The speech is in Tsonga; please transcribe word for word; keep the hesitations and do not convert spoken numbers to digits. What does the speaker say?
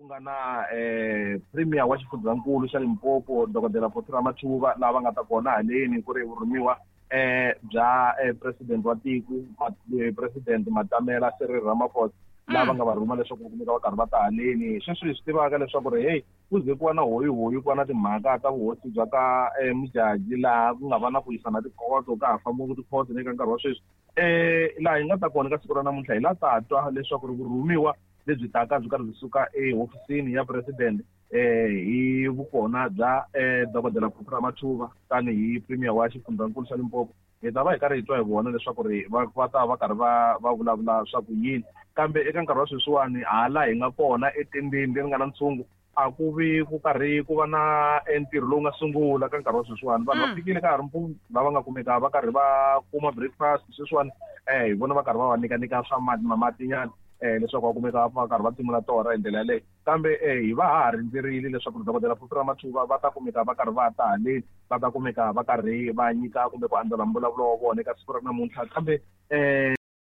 Ku nga na um premier wa xifundzankulu xa Limpopo dokodela Phophi Ramathuba lava nga ta kona haleni ku ri vurhumiwa um bya president wa tiko president Matamela Cyril Ramaphosa lava nga va rhuma leswaku va kumeka va karhi va ta haleni. Sweswi hi swi tivaka leswaku ri hey ku ze ku va na hoyihoyi ku va na timhaka ta vuhosi bya ka Mujaji laha ku nga va na ku yisana tikhoto ka ha fambiwa tikhoto eka nkarhi wa sweswi. Um laha hi nga ta kona ka siku ra namuntlha hi la ta twa leswaku ri vurhumiwa lebyi taka byi karhi byi suka ehofisini ya president um hi vukona bya um dokodela Phophi Ramathuba tanihi premier wa xifundzankulu xa Limpopo. Hi ta va hi karhi hi twa hi vona leswaku ri va va ta va karhi va va vulavula swa ku yini, kambe eka nkarhi wa sweswiwani hala hi nga kona etendeni leri nga na ntshungu a ku vi ku karhi ku va na ntirho lowu nga sungula ka nkarhi wa sweswiwani. Vanhu va fikile ka ha ri mpundzu lava nga kumeka va karhi va kuma breakfast sweswiwani um hi vona va karhi va va nyikanyika swa mati mamatinyana um leswaku va kumeka va karhi va timula torha hi ndlela yaleyo. Kambe um hi va ha ha rindzerile leswaku dokodela Phophi Ramathuba va ta kumeka va karhi va ta haleni, va ta kumeka va karhi va nyika kumbe ku andlala mbulavulo wa vona eka siku ra namuntlha. Kambe um